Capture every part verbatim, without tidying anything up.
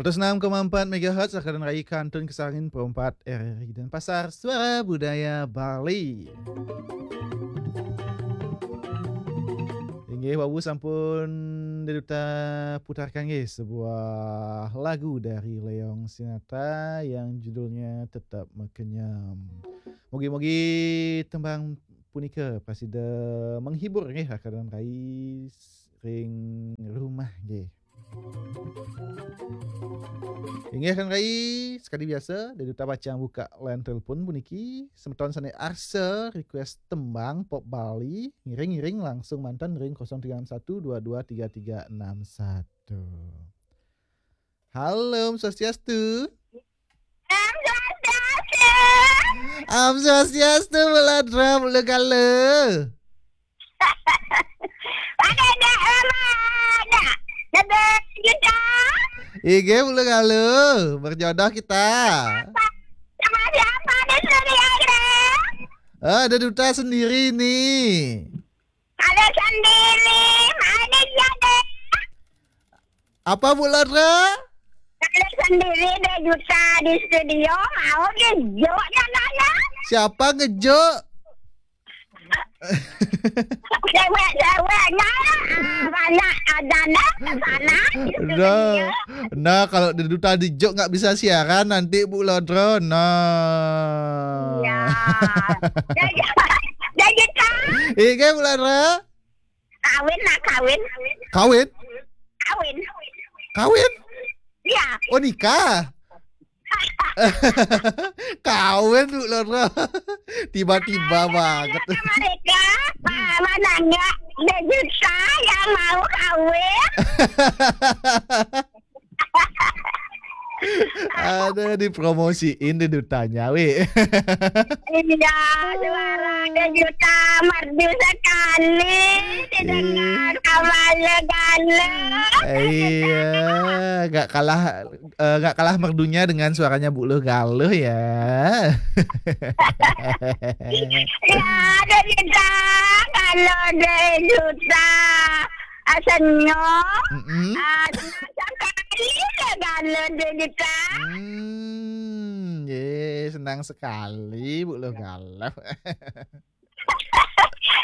Seratus enam koma empat megahertz, Rakanan Rai Kantun Kesangin, Pro empat R R I Denpasar, Suara Budaya Bali. Inggih, wau sampun Dé Duta putarkan nggih sebuah lagu dari Leong Sinatra yang judulnya Tetap Mekenyam. Mugi-mugi tembang punika prasida menghibur nggih Rakanan Rai ring rumah nggih. Inggih Rakanan Rai, sekadi biasa, Dé Duta pacang buka line telepon puniki. Semeton sané arsa request tembang pop Bali, ngiring-ngiring langsung manten ring kosong tiga enam satu dua dua tiga tiga enam satu. Halo, Om Swastiastu. Om Swastiastu. Om Swastiastu, Bu Lodra, Bu Lugala. Pada dah lama dah. Dah berjuta. Inggih, Bu Lugala. Berjodoh kita. Sama siapa di studio ini? Ah, Dé Duta sendiri nih. Ada sendiri. Mana dia deh? Apa, Bu Lodra? Ada sendiri Dé Duta di studio. Mau gejuk nadanya. Siapa ngejuk? Cewek-ceweknya lah. Ah, banyak ada dah sana. Di studio. Nah, nah, kalau Dé Duta dijuk nggak bisa siaran nanti, Bu Lodra. Nah. Iya. Jadi, jadi kan? Inggih, Bu Lodra. Kawin lah, kawin. Kawin? Kawin. Kawin? Iya. Oh, nikah. Kawin, Bu Lodra. Tiba-tiba banget. Ada mereka, ah, menanggap Dé Duta yang mau kawin. Ada dipromosiin Dé Dutanya, wi. Iya, suara Dé Duta merdu sekali. Didengar Ih. Kamal Galuh. Iya, nggak kalah, eh, nggak kalah merdunya dengan suaranya Bu Luh Galuh ya. Ya, Dé Duta, kalau Dé Duta, ah, senyum, Mm-mm. Ah, senang sekali Dé Galuh Dé Duta. Hmm, ye, senang sekali Bu Luh Galuh.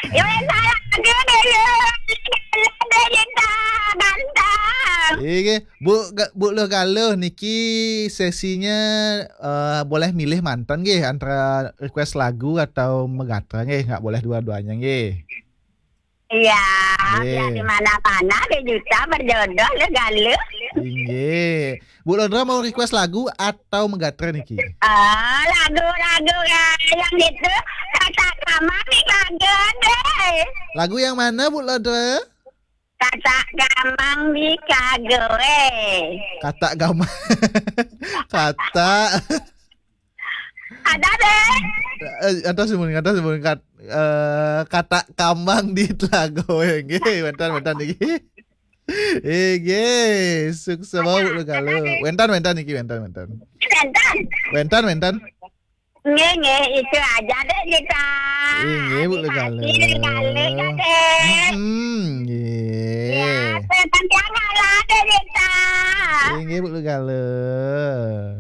Ya, wes, salah aja deh, ya. Dé Duta, ganteng. Inggih, Bu Ga-, Bu Luh Galuh niki sesinya, eh, boleh milih manten nggih antara request lagu atau megatra nggih, nggak boleh dua-duanya nggih. Iya, Nggih. Biar di mana-mana Dé Duta berjodoh Luh Galuh. Inggih. Bu Lodra mau request lagu atau megatra niki? Ah, lagu-lagu ya, yang itu, Katak Kamang di Kagede. Lagu yang mana, Bu Lodra? Katak Kamang di Kagede. Katak Kamang. Katak. Ada deh. Eh, antos mun, antos mun, kat-, eh, Katak Kamang di Telago. Nggih, wénten, wénten niki. Nggih, sukses Bu Luh Galuh. Wénten, wénten niki, wénten, wénten. Wénten. Wénten, wénten. Nggih, nggih, itu aja deh kita. Nggih, Bu Luh Galuh. Terima kasih, Bu Luh Galuh, ya, deh. Hmm, nggih. Ya, saya panjang lah deh kita. Nggih, Bu Luh Galuh.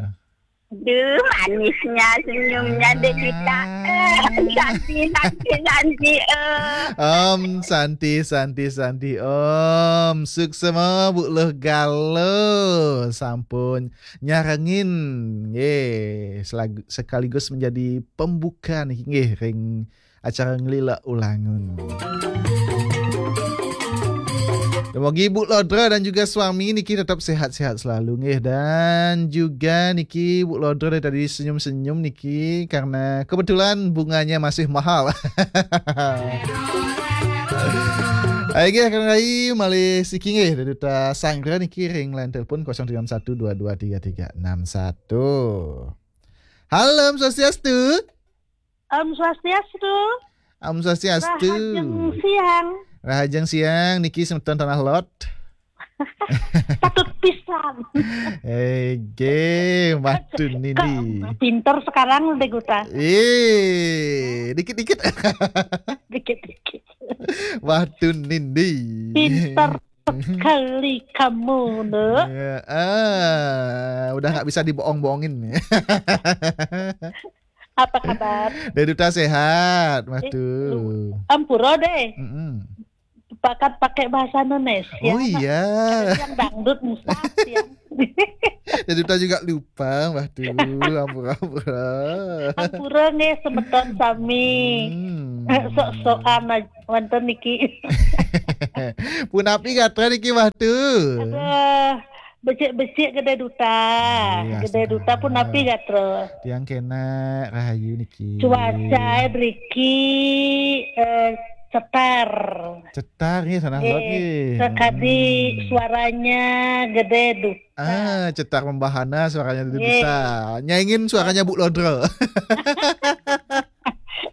Duh, manisnya senyumnya Dé Duta. Ah. Eh, Santi, Santi, Santi, eh. Om Santi, Santi, Santi, Om. Suksma Bu Luh Galuh sampun nyarengin, nggih, selag-, sekaligus menjadi pembuka niki, nggih, ring acara Nglila Ulangun. Dumogi Bu Lodra dan juga suami niki tetap sehat-sehat selalu, nggih. Dan juga niki Bu Lodra dari tadi senyum-senyum niki karena kebetulan bunganya masih mahal. Ayo, nggih, Kang Rai, malih siki, nggih, Dé Duta sanggra niki ring line telepon kosong tiga enam satu dua dua tiga tiga enam satu. Halo, Om Swastiastu. Om Swastiastu. Om Swastiastu. Rahajeng siang. Rahajeng siang, niki semeton Tanah Lot. Patut pisan. Ege, Mbah Tun Nindi. Kok pinter sekarang, Dé Duta. Eh, dikit-dikit. Dikit-dikit. Mbah Tun Nindi. Pinter. Sekali kamu, Nduk. Ya, ah, udah nggak bisa dibohong-bohongin. Apa kabar? Dai Duta sehat, Mbah Eh, Tu. Ampura deh. Mm-mm. Pakat pakai bahasa Indonesia. Oh iya. Yang dangdut musah yang. Dai Duta juga lupa, Mbah Tu. Ampura-ampura. Ampura nggih semeton sami. Hmm. Sok-sokan aja wonten niki. Punapi gatra niki, Mbah Tu. Aduh, becik-becik Gede Duta. Iya, Gede Duta astagfirullah. Punapi gatra. Tiang kena rahayu niki. Cuaca driki eh, cetar. Cetar nih, sana Eh, lot nih. Sekadi Hmm. Suaranya Gede Duta. Ah, cetar membahana suaranya Dai Nggih. Duta. Nyaingin suaranya Bu Lodro.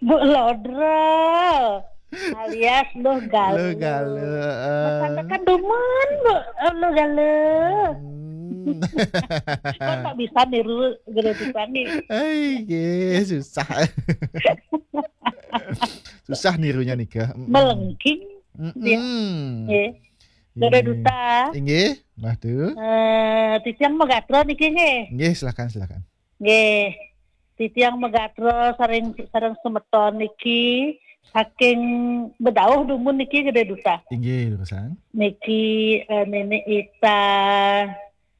Bu Lodro alias Luh Gale. Luh Gale, eh. Kan dumun, Bu, eh, Luh Gale. Hmm. Kan tak bisa niru Gede Duta nih. Ai, nggih, susah. Susah nirunya nika. Mm-mm. Melengking. Mm-mm. Nggih. Gede Nggih. Duta. Inggih, Mbah Tu. Eh, titiang mau gatra niki nggih. Nggih, silakan, silakan. Nggih. Titiang mau gatra sareng sareng semeton niki saking bedauh dumun niki Gede Duta. Inggih, durusang. Niki eh, Nini Ita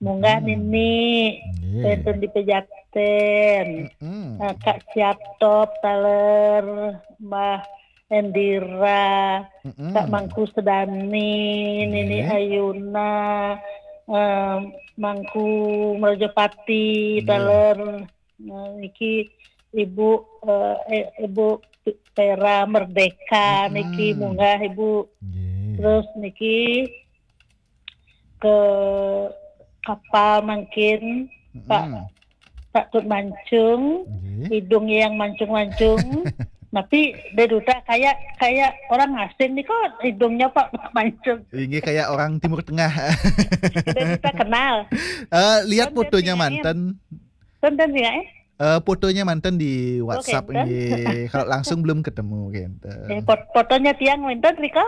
munggah Hmm. Nini Nggih. wonten di Pejaten. Mm-mm. Eh, Kak Siatop taler Mbah Endira, Mm-mm. Kak Mangku Sedani, Nini Nggih. Ayuna, eh, Mangku Merjopati Nggih. taler. Nah, niki Ibu eh, eh, Ibu Vera Merdeka Mm-mm. niki munggah Ibu. Nggih. Terus niki ke kapal mungkin Pak Mm-mm. Pak Tut Mancung, Nggih. hidungnya yang mancung-mancung. Tapi Gede Duta kayak kayak orang asing nih kok hidungnya Pak Mancung. Ini kayak orang Timur Tengah. Gede Duta kenal. Eh, lihat Kan fotonya dia manten. Tonton ya eh. Eh, fotonya manten di WhatsApp Oke, enten. Nggih. Kalau langsung belum ketemu gitu. Eh, pot- fotonya tiang wonten rika?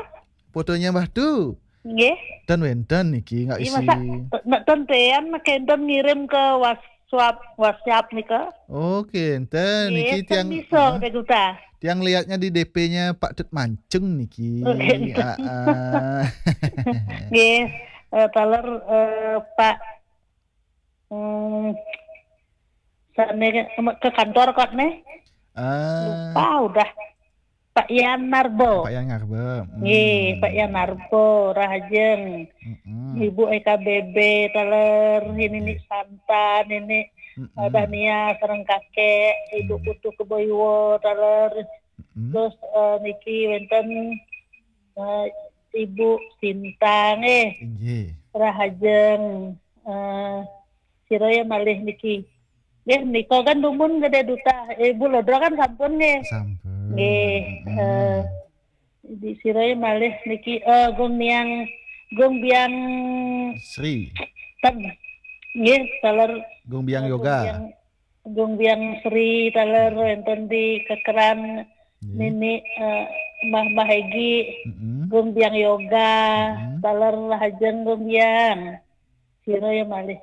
Fotonya Mbah Tu. Nggih. Dan wonten niki nggak Iya isi. masa nek ten tean nek enten ngirim ke WhatsApp WhatsApp nika. Oke, enten Nggih, niki ten tiang bisa ah, Gede Duta. tiang lihatnya di D P-nya Pak Tut Mancung niki. Oke. Ah, ah. Nggih, eh, taler eh, Pak hmm, sane ke, ke kantor kok nih. Ah, Lupa udah. Pak Yan Narbo. Pak Yan Narbo. Nggih, Hmm. Pak Yan Narbo, Rahajeng. Mm-mm. Ibu E K B B taler, ini Nggih. Nik Santa, ini Mm-mm. Dania sareng kakek, Ibu Hmm. Putu Keboiwo taler. Mm-mm. Terus eh, niki wonten eh, Ibu Sinta nggih, Inggih. Rahajeng eh sira ya malih niki. Nggih, nika kan dumun Gede Duta. Ibu Lodro kan sampun nggih. Sampun. Nggih, Mm-mm. eh, di sira ya malih niki eh Gung Niang Gung Biang Sri. ten. Nggih, taler Gung Biang eh, Gung Yoga. Biang Gung Biang Sri taler wonten di kekeran Nggih. Nini eh, Mbah Mbah Egi Mm-mm. Gung Biang Yoga Mm-mm. taler Rahajeng Gung Biang. Sira ya malih.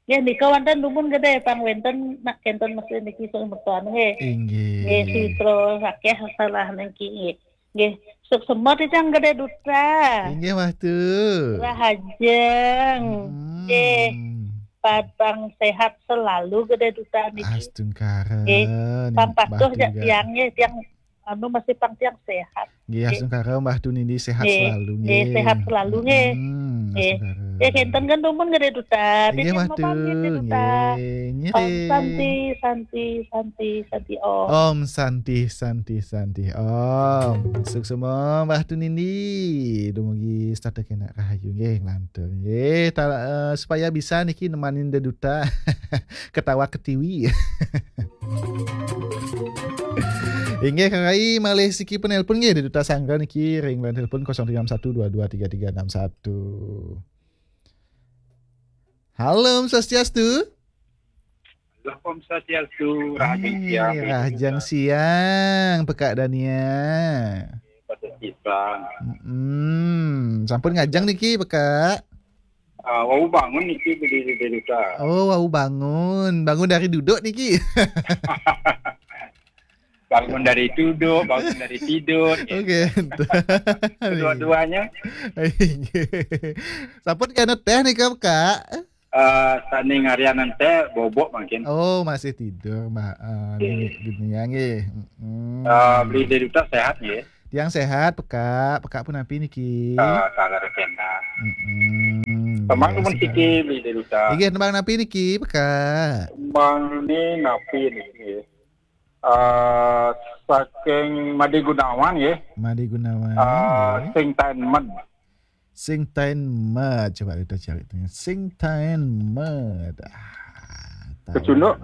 Nggih nika wonten dumun Gede pang wonten nak kenten mesti niki sing mertuan nggih. Nggih Inggih. sitra akeh salah niki nggih. Nggih, suksma titiang Gede Duta. Inggih, Mbah Tu. Rahajeng. Mm-mm. Nggih, padang sehat selalu Gede Duta niki. Astungkara. Nggih, Nih, pang Mbah patuh Tu jak juga. tiang nggih, tiang anu masih pang tiang sehat. Nggih, Nggih. Astungkara Mbah Tu niki sehat Nggih, selalu nggih, nggih. sehat selalu nggih. Mm-mm, Nggih. Astungkara. Ya kenten kan dumun Gede Duta. Inggih, Titiang Mbah mau Tu. pamit Gede Duta. Nggih. Om Ngiring. Santi, Santi, Santi, Santi Om. Om Santi, Santi, Santi Om. Suksma Mbah Tu niki dumugi setata kena rahayu nggih nglantur nggih. Ta- eh, supaya bisa niki nemanin Gede Duta ketawa ketiwi. Inggih Kang Rai, malih siki penelpon nggih Gede Duta Sangga niki ring line telepon kosong tiga enam satu dua dua tiga tiga enam satu. Halo, Om Swastiastu. Lah, Om Swastiastu, Rahajeng Siang. Rahajeng Siang, Pekak Dania. Pada Isan. Hmm, sampun ngajeng niki, Pekak? Ah, wau bangun niki beli di Duta. Oh, wau bangun. Bangun dari duduk niki. Bangun dari duduk, bangun dari tidur. Oke. Kedua-duanya. Sampun kena teh nih, Kak? Eh, sani ngarianan teh bobok mungkin. Oh, masih tidur, Mbak. Eh, nini dunia nggih. Mm-mm. Eh, beli di Duta sehat nggih. Tiang sehat, Pekak. Pekak pun napi niki? Eh, taler kena. Mm-mm. Tembang nggih, numun siki beli di Duta. Inggih, tembang napi niki, Pekak? Tembang ini napi niki? Eh, saking Made Gunawan nggih. Made Gunawan, eh, nggih. Sing Taen Med. Sing Taen Med. Coba kita cari tuh. Sing Taen Med. Ah, tahu. Kecunduk.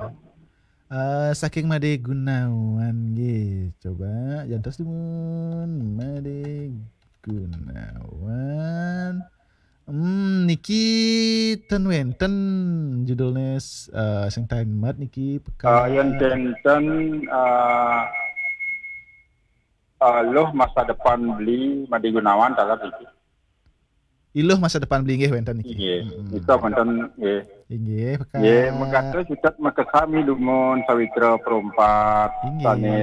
Eh, saking Made Gunawan nggih. Coba jantos dumun Made Gunawan. Hmm, niki ten wenten judulnya, eh, Sing Taen Med niki, Pekak. Eh, yen ten, eh, eh, Luh Masa Depan beli Made Gunawan taler niki. Iluh Masa Depan beli nggih wenten niki. Inggih, mm-mm. Nika wenten nggih. Inggih, Pekak. Nggih, megatus cutet makasami dumun sawitra perempat. Inggih. Sane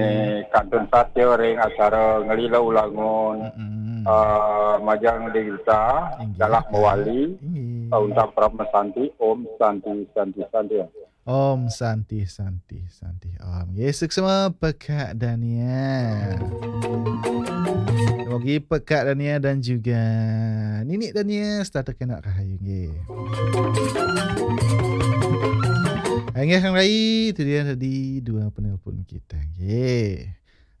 kantun satya ring acara Ngelila Ulangun. Mm-mm. Eh, majeng Dewita, inggih, dalah Pekak. Mewali, inggih. Eh, Unta Prab Mesanti, Om Santi, Santi, Santi. Om Santi, Santi, Santi, Om. Nggih, suksma Pekak Dania. Mugi Pekak Dania dan juga Nini Dania setata kena rahayu nggih. Inggih, Kang Rai, itu dia tadi dua penelpon kita nggih.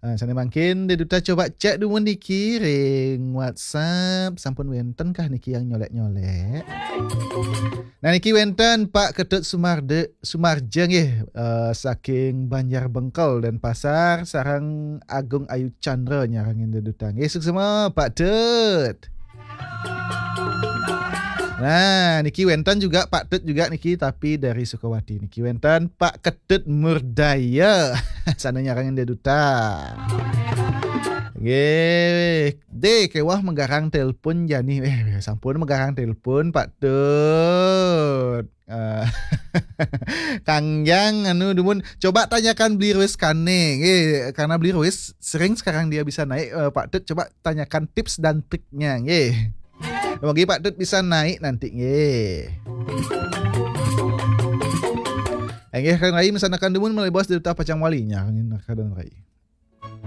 Ah, sane mangkin, Dek Duta coba cek dumun niki ring WhatsApp, sampun wenten kah niki yang nyolek-nyolek? Nah, niki wenten Pak Ketut Sumarde, Sumarja nggih, eh, saking Banjar Bengkel dan Pasar, sareng Agung Ayu Chandra nyarengin Dek Duta. Nggih, suksma Pak Tut. Nah, niki wenten juga Pak Tut juga niki, tapi dari Sukawati. Niki wenten Pak Ketut Murdaya. Sana nyarengin Dek Duta. Nggih, Dek, kewah megarang telepon jani. Eh, sampun megarang telepon, Pak Tut. Eh, Kang Jang, anu, dumun, coba tanyakan Beli Ruis kane, nggih, karena Beli Ruis sering sekarang dia bisa naik, eh, Pak Tut, coba tanyakan tips dan triknya, nggih. Mugi Pak Tut bisa naik nanti, nggih. Nggih, Kang Rai mesanakan dumun malih bos Dek Duta pacang wali nya, Kang Rai.